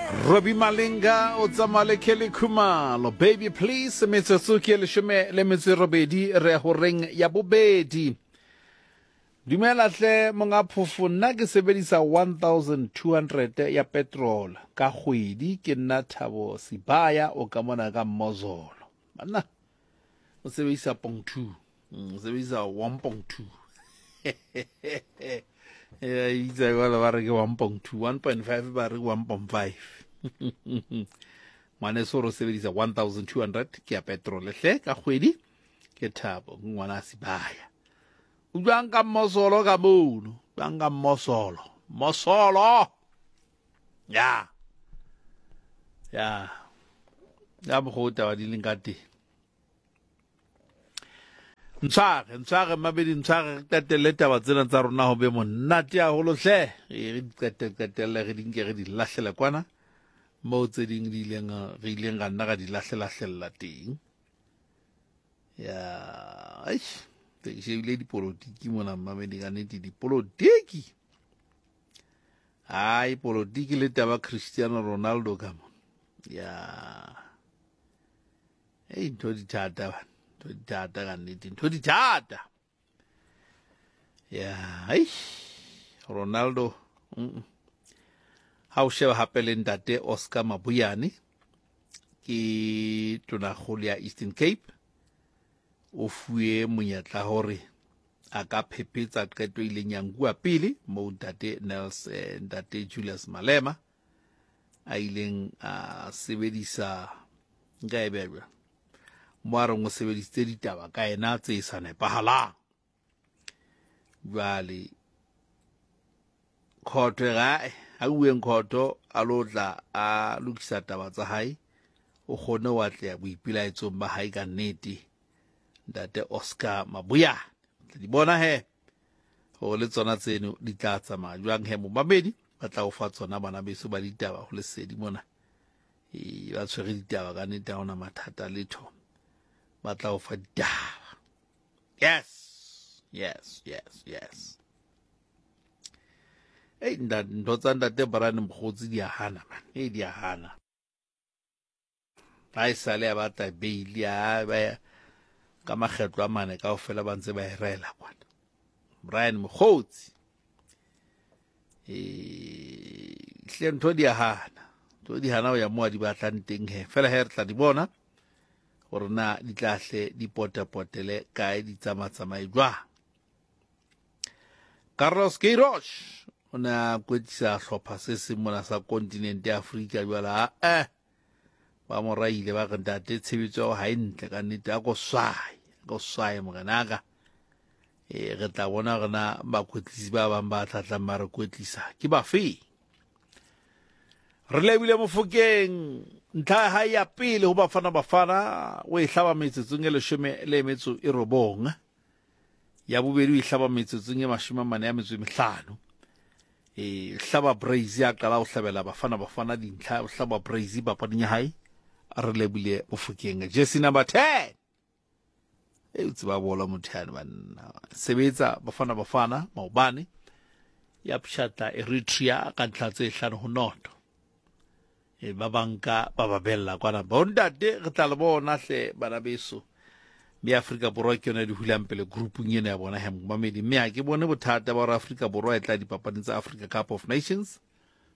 Robbie Malinga o tsamaya le Kelly Khumalo. Baby please, metsotso ke leshome le metso e robedi re ya horeng ya bobedi. Dumela hle monga phofo, nna ke sebedisa 1200 ya petrol ka kgwedi. Ke nna Thabo Sibaya o ka mona ka Mmozolo. Banna o sebedisa pong 2, o sebedisa 1.2. Ya itse jwale ba re ke 1.2, 1.5 ba re 1.5. Ngwaneso re sebedisa 1200 ke ya petrol hle ka kgwedi. Ke Thabo, ke ngwana Sibaya. O jwang ka Mmosolo ka mono? Jwang ka Mmosolo? Mosolo. Ya. Ya. Ya mokgwa o taba di leng ka teng. Ntshware, ntshware mabedi, ntshware re qetelle taba tsena tsa rona ho be monate haholo hle. Re di qete qetelle re di nke re di lahlele kwana moo tse ding di ileng re ileng ra nna ra di lahlelahlella teng. Ya, eish, ke shebile dipolotiki mona mmamedi ka nnete dipolotiki. Hai polotiki le taba Cristiano Ronaldo ka mo. Ya. Ei ntho di thata bana, ntho di thata ka nnete, ntho di thata. Ya, eish, Ronaldo. Ha o sheba hape le ntate Oscar Mabuyane ke tonakgolo ya Eastern Cape, o fuwe monyetla hore a ka phephetsa qeto e ileng ya nkuwa pele moo ntate Nels, ntate Julius Malema a ileng a sebedisa nka e beha jwang mo a reng o sebedisitse ditaba ka ena tse sa nepahalang. Jwale khotho e re ha uweng khotho a lo tla a lokisa taba tsa hae, o kgone ho atleha boipelaetsong ba hae ka nnete ntate Oscar Mabuyane. Tla di bona he hore le tsona tseno di tla tsamaya jwang he momamedi, ba tla o fa tsona bana beso ba ditaba ho lesedi mona. E, ba tshwere ditaba ka nnete, ha hona mathata letho, ba tla o fa ditaba. Yes, yes, yes, yes. Ei, ntho tsa ntate Brian Mokgotsi di a hana man, ei di a hana. Ha e sale a batla bail a ba ka makgetlo a mane kaofela ba ntse ba e rela kwana. Brian Mokgotsi. Hle ntho di a hana. Ntho di hana ho ya mo a di batlang teng he. Fela he re tla di bona gore na di tla hle di potapotele kae, di tsamatsamaye jwang. Carlos Queiroz o ne a kwetlisa hlopha se seng mona sa kontinente ya Afrika jwale a ba mo raile ba re ntate tshebetso ya ha e ntle ka nnete, a ko swaye, a ko swaye morenaka. Re tla bona gore na bakwetlisi ba bang ba tlatlang ba re kwetlisa ke bafe. Re lebile Mofokeng ntlha ya hae ya pele ho Bafana Bafana o e hlaba metsotsong e leshome le metso e robong, ya bobedi o e hlaba metsotsong e mashome a mane ya metso e mehlano. E hlaba Brazil, a qala ho hlabela Bafana Bafana dintlha, o hlaba Brazil papading ya hae. Re lebile Mofokeng jersey number 10. E o tseba bolo motho yane banna. Sebetsa Bafana Bafana maobane ya pshatla Eritrea ka ntlha tse 5-0. E ba banka ba ba bella kwana. Bontate re tla le bona hle bana beso. Mme Afrika Borwa ke yona e di hulang pele groupung ena ya bona he momamedi. Mme ha ke bone bothata ba hore Afrika Borwa e tla dipapading tsa Africa Cup of Nations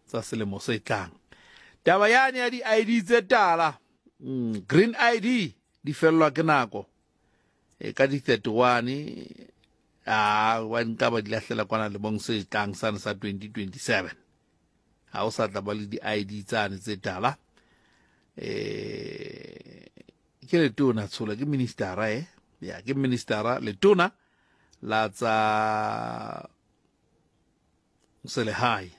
tsa selemo se tlang. Taba yane ya di-ID tse tala, green ID di fellwa ke nako e ka di 31, a wa nka ba di lahlela kwana lemong se tlang sane sa 2027. Ha o sa tla ba le di-ID tsane tse tala. Ke letona tshola, ke ministera ya ke ministera letona la tsa selehae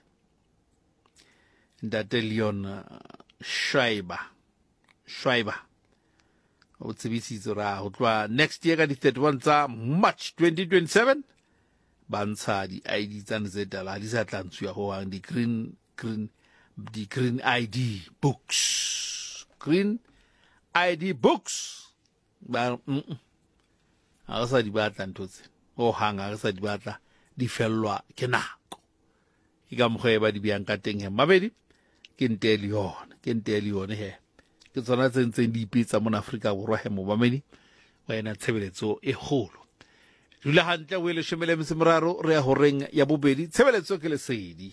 ntate Leon Schreiber. Schreiber o tsebisitse hore ho tloha next year ka di 31 tsa March 2027 ba ntsha di-ID tsane tse tala, ha di sa tla ntshuwa ho hang, di-green ID books, green ID books ba ha re sa di batla ntho tse ho hang, ha re sa di batla, di fellwa ke nako. Ke ka mokgwa e ba di beyang ka teng he mabedi. Ke nte le yone, ke nte le yone he. Ke tsona tse ntseng di ipetsa mona Afrika Borwa he momamedi wa ena tshebeletso e kgolo. Dula hantle o e leshome le metso e meraro re ya horeng ya bobedi. Tshebeletso ke lesedi.